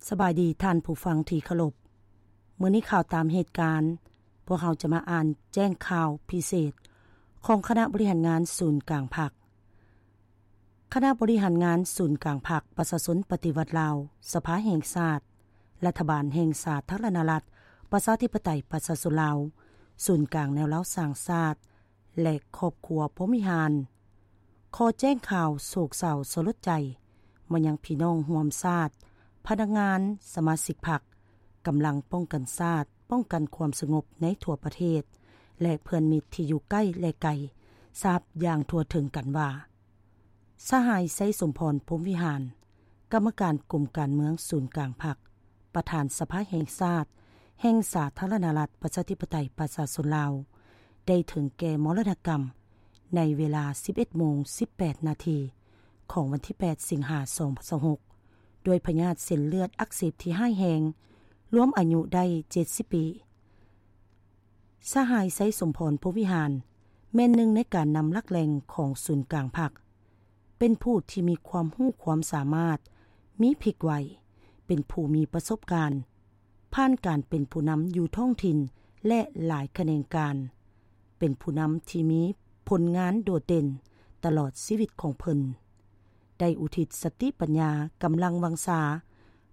ສະບາຍດີທ່ານຜູ້ຟັງທີ່ເຄົາລົບ. ມື້ນີ້ຂ່າວຕາມເຫດການ, ພວກເຮົາຈະມາອ່ານແຈ້ງຂ່າວພິເສດຂອງຄະນະບໍລິຫານງານສູນກາງພັກ. ຄະນະບໍລິຫານງານສູນກາງພັກປະຊາຊົນປະຕິວັດລາວ, ສະພາແຫ່ງຊາດ, ລັດຖະບານແຫ່ງສາທາລະນະລັດ ປະຊາທິປະໄຕ ປະຊາຊົນລາວ, ສູນກາງແນວລາວສ້າງຊາດ ແລະ ຄອບຄົວພົມວິຫານ ຂໍແຈ້ງຂ່າວໂສກເສົ້າສະຫຼົດໃຈມາຍັງພີ່ນ້ອງຮ່ວມຊາດ, ພະນັກງານ, ສະມາຊິກພັກ, ກຳລັງປ້ອງກັນຊາດ, ປ້ອງກັນຄວາມສະຫງົບໃນທົ່ວປະເທດ ແລະ ເພື່ອນມິດທີ່ຢູ່ໃກ້ ແລະ ໄກ ຊາບຢ່າງທົ່ວເຖິງກັນວ່າ ສະຫາຍ ໄຊສົມພອນ ພົມວິຫານ, ກຳມະການກົມການເມືອງສູນກາງພັກ, ປະທານສະພາແຫ່ງຊາດ ແຫ່ງສາທາລະນະລັດ ປະຊາທິປະໄຕ ປະຊາຊົນລາວ ໄດ້ເຖິງແກ່ມໍລະນະກຳ ໃນເວລາ ສິບເອັດໂມງ ສິບແປດນາທີ ຂອງວັນທີ ແປດ ສິງຫາ ສອງພັນຊາວຫົກ ດ້ວຍພະຍາດເສັ້ນເລືອດອັກເສບທີ່ຮ້າຍແຮງ, ລວມອາຍຸໄດ້ ເຈັດສິບປີ. ສະຫາຍ ໄຊສົມພອນ ພົມວິຫານ ແມ່ນໜຶ່ງໃນການນຳຫຼັກແຫຼ່ງຂອງສູນກາງພັກ, ເປັນຜູ້ທີ່ມີຄວາມຮູ້ຄວາມສາມາດ, ມີພລິກໄວ, ເປັນຜູ້ມີປະສົບການ, ຜ່ານການເປັນຜູ້ນຳຢູ່ທ້ອງຖິ່ນ ແລະ ຫຼາຍຂະແໜງການ, ເປັນຜູ້ນຳທີ່ມີຜົນງານໂດດເດັ່ນຕະຫຼອດຊີວິດຂອງເພິ່ນ, ໄດ້ອຸທິດສະຕິປັນຍາ, ກຳລັງວັງຊາ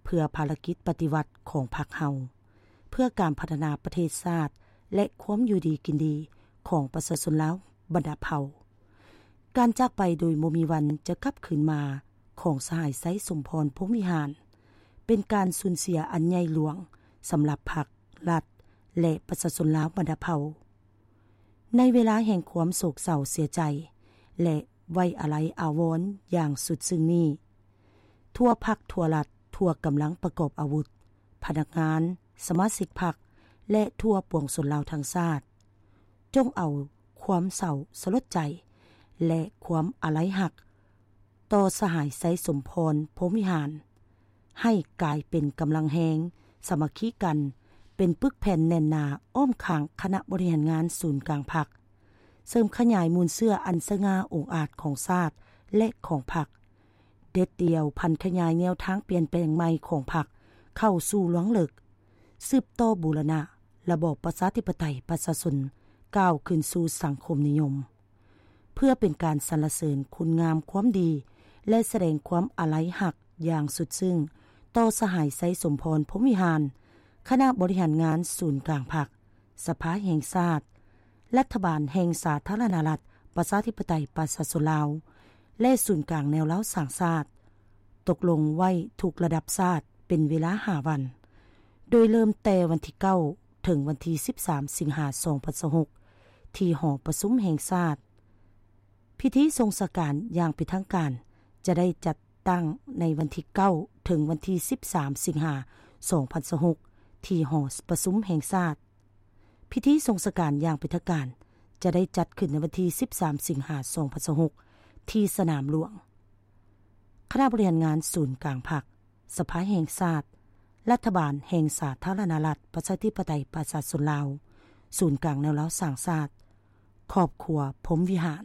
ເພື່ອພາລະກິດປະຕິວັດຂອງພັກເຮົາ, ເພື່ອການພັດທະນາປະເທດຊາດ ແລະ ຄວາມຢູ່ດີກິນດີຂອງປະຊາຊົນລາວບັນດາເຜົ່າ. ການຈາກໄປໂດຍບໍ່ມີວັນຈະກັບຄືນມາຂອງສະຫາຍ ໄຊສົມພອນ ພົມວິຫານ ເປັນການສູນເສຍອັນໃຫຍ່ຫຼວງສຳລັບພັກ, ລັດ ແລະ ປະຊາຊົນລາວບັນດາເຜົ່າ. ໃນເວລາແຫ່ງຄວາມໂສກເສົ້າເສຍໃຈ ແລະ ໄວ້ອາໄລອາວອນຢ່າງສຸດຊຶ້ງນີ້, ທົ່ວພັກ, ທົ່ວລັດ, ທົ່ວກຳລັງປະກອບອາວຸດ, ພະນັກງານ, ສະມາຊິກພັກ ແລະ ທົ່ວປວງຊົນລາວທັງຊາດ, ຈົ່ງເອົາຄວາມເສົ້າສະຫຼົດໃຈ ແລະ ຄວາມອາໄລຮັກຕໍ່ສະຫາຍ ໄຊສົມພອນ ພົມວິຫານ ໃຫ້ກາຍເປັນກຳລັງແຮງ, ສາມັກຄີກັນ, ເປັນປຶກແຜ່ນແໜ້ນໜາອ້ອມຂ້າງຄະນະບໍລິຫານງານສູນກາງພັກ, ເສີມຂະຫຍາຍມູນເຊື້ອອັນສະຫງ່າອົງອາດຂອງຊາດ ແລະ ຂອງພັກ, ເດັດດ່ຽວຜັນຂະຫຍາຍແນວທາງປ່ຽນແປງໃໝ່ຂອງພັກເຂົ້າສູ່ລວງເລິກ, ສືບຕໍ່ບູລະນະລະບອບປະຊາທິປະໄຕປະຊາຊົນ ກ້າວຂຶ້ນສູ່ສັງຄົມນິຍົມ, ເພື່ອເປັນການສັນລະເສີນຄຸນງາມຄວາມດີ ແລະ ສະແດງຄວາມອາໄລຮັກຢ່າງສຸດຊຶ້ງຕໍ່ສະຫາຍ ໄຊສົມພອນ ພົມວິຫານ, ຄະນະບໍລິຫານງານສູນກາງພັກ, ສະພາແຫ່ງຊາດ, ລັດຖະບານແຫ່ງສາທາລະນະລັດ ປະຊາທິປະໄຕ ປະຊາຊົນລາວ ແລະ ສູນກາງແນວລາວສ້າງຊາດ ຕົກລົງໄວ້ທຸກລະດັບຊາດເປັນເວລາຫ້າວັນ, ໂດຍເລີ່ມແຕ່ວັນທີເກົ້າ ເຖິງວັນທີສິບສາມ ສິງຫາ ສອງພັນຊາວຫົກ ທີ່ຫໍປະຊຸມແຫ່ງຊາດ. ພິທີສົ່ງສາການຢ່າງເປັນທາງການຈະໄດ້ຈັດຕັ້ງໃນວັນທີເກົ້າ ເຖິງວັນທີສິບສາມ ສິງຫາ ສອງພັນຊາວຫົກ ທີ່ຫໍປະຊຸມແຫ່ງຊາດ. ພິທີສົ່ງສາການຢ່າງເປັນທາງການຈະໄດ້ຈັດຂຶ້ນໃນວັນທີສິບສາມ ສິງຫາ ສອງພັນຊາວຫົກ ທີ່ສະໜາມຫຼວງ. ຄະນະບໍລິຫານງານສູນກາງພັກ, ສະພາແຫ່ງຊາດ, ລັດຖະບານແຫ່ງສາທາລະນະລັດ ປະຊາທິປະໄຕ ປະຊາຊົນລາວ, ສູນກາງແນວລາວສ້າງຊາດ, ຄອບຄົວພົມວິຫານ.